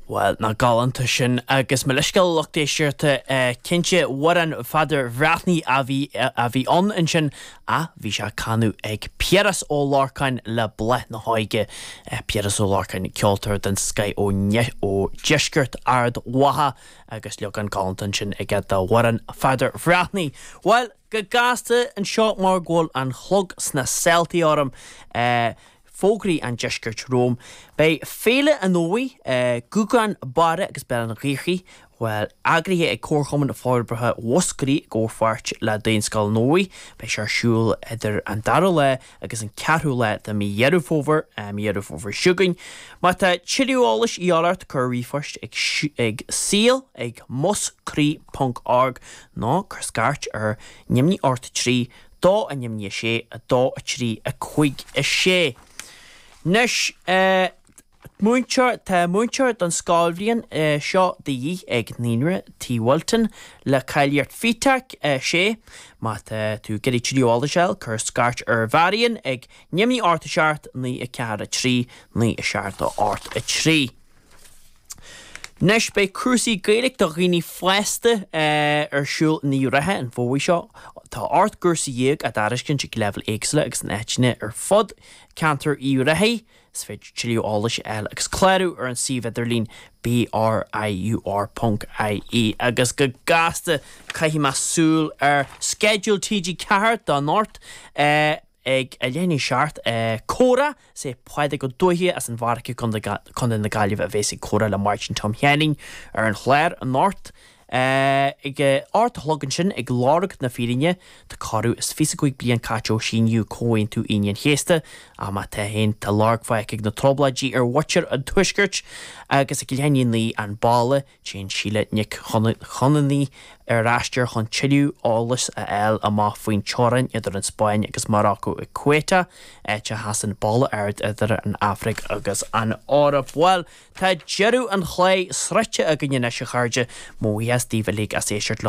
Bhuel, nach galánta sin agus mo leithscéal a lucht éisteachta, cinnte, amhrán Pheadair Bhreathnaigh a bhí a bhí ann ansin ach bhí sé á canadh ag Piaras Ó Lorcáin le Bláth na hÓige. Piaras Ó Lorcáin, ceoltóir den scoith ó ó dheisceart Ard Mhacha agus leagán galánta ansin aige d'amhrán Pheadair Bhreathnaigh. Bhuel, go gasta anseo mar go bhfuil an clog sna sáltaí orm. Fógraí an Deiscirt romham. Beidh Féile an Fhómhair, Gúgán, Barra agus Béal an Ghaorthaidh, bhuel, eagraithe ag Comharchumann Forbartha Mhúscraí i gcomhpháirt le Daonscoil an Fhómhair. Beidh sé ar siúl idir an dara lá agus an ceathrú lá de mhí Dheireadh Fómhair, mí Dheireadh Fómhair seo chugainn. Má tá tuilleadh eolais a dhíobháil ort, cuir ríomhphost ag ag saol ag muscraí ponc org nó cuir scairt ar neamhní 8 3 2 0 6 2 3 5 6. Anois, múinteoir, tá múinteoir don scoilbhliain seo de dhíth ag Naíonra T. Wilton le cáilíocht FETAC 6. Má tá tú ag iarraidh tuilleadh eolais a fháil, cuir scairt ar Mharion ag neamhní 8 7 9 4 3 9 7 8 3. Anois beidh cúrsaí Gaeilge do dhaoine fásta ar siúl in Uíbh Ráthaigh an fómhar seo. Tá 18 gcúrsa á dtairiscint ag leibhéil éagsúla agus in áiteanna ar fud ceantar Uíbh Ráthaigh. Is féidir tuilleadh eolais a fháil agus clárú ar an suíomh idirlín briur.ie. Agus go gasta caithfidh mé súil ar sceideal TG4 do anocht. Ag a leath i ndiaidh a 7, Comhrá, is é Pádraig Ó Dubhthaigh as an bhFairche, Contae na Gaillimhe a bhéas ag comhrá le Máirtín Tom Sheáinín ar an chlár anocht. Ag a 8 a chlog ansin, ag lorg na fírinne, tá corradh is 25 bliain caite ó síníodh Comhaontú Aoine an Chéasta, ach má tá féin, tá lorg fágtha ag na trioblóidí ar mhuintir an Tuaiscirt agus ag leath i ndiaidh a 9, an balla. Téann Síle Nic Chonamhnaigh ar aistear chun tuilleadh eolais a fháil amach faoin teorainn idir an Spáinn agus Marocco ag Ceuta, áit a sheasann balla ard idir an Afraic agus an Eoraip. Bhuel, tá deireadh an chláir sroichte againn anois, a chairde. Mo bhuíochas daoibh uilig as éisteacht liom.